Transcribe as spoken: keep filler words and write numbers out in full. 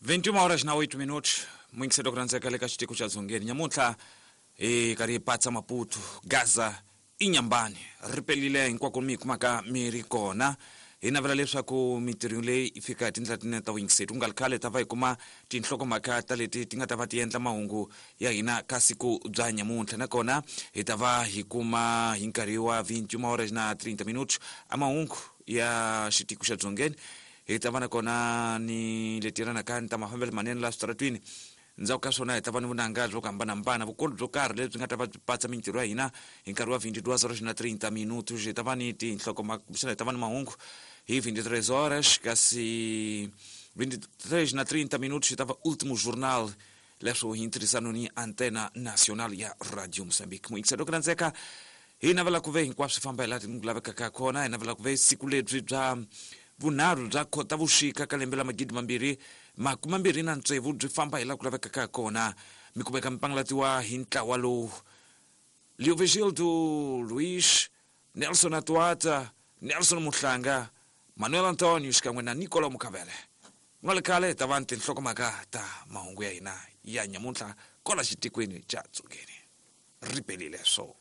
vinte e uma horas na oito minutos, muito cedo kuranzeka leka xitiko xa dzongeni nyamuntlha hi karhi hi patsa Maputo, Gaza, Inhambane ri pelile hinkwako mi hi kumaka mi ri kona. Hi navela leswaku mintirho leyi yi fika hi tindlela tinene ta vuyingiseri ku nga ri khale ta va hi kuma tinhlokomhaka ta leti ti nga ta va ti endla mahungu ya hina ka siku bya nyamuntlha, nakona hi ta va hi kuma hi nkarhi wa vinte e uma horas na trinta minutos a mahungu ya xitiko xa dzongeni. Hi ta va nakona ni leti yelanaka ni ta mafambelo manene laha switaratwini. Ndzhaku ka swona hi ta va ni vunanga byo hambanahambana, vukulu byo karhi lebyi nga ta va byi patsa mintirho ya hina hi nkarhi wa vinte e duas horas na trinta minutos. Hi ta va ni tinhlokomhaka, kumbexana hi ta va ni mahungu hi vinte e três horas, kasi vinte e três na trinta minutos hi ta va último jornal leswo hi ntirhisano ni Antena Nacional ya Radio Moçambique. Muyingiselo ku landzeka hi navela ku ve hinkwaswo swi famba hi laha ku lavekaka kona. Hi navela ku ve siku lebyi bya vunharhu bya Khotavuxika ka lembe la magidi mambirhi makume mambirhi na tsevu byi famba hi laha ku lavekaka kona. Mi kumeka mi pangalatiwa hi ntlawa lowu: Leovigildo Luis, Nelson Atuata, Nelson Muhlanga, Manuel Antonio xikan'we na Nicolau Mukavele. Ku nga ri khale hi ta va ni tinhlokomhaka ta mahungu ya hina ya nyamuntlha kwala xitikweni xa Dzongeni. Ri pelile swo.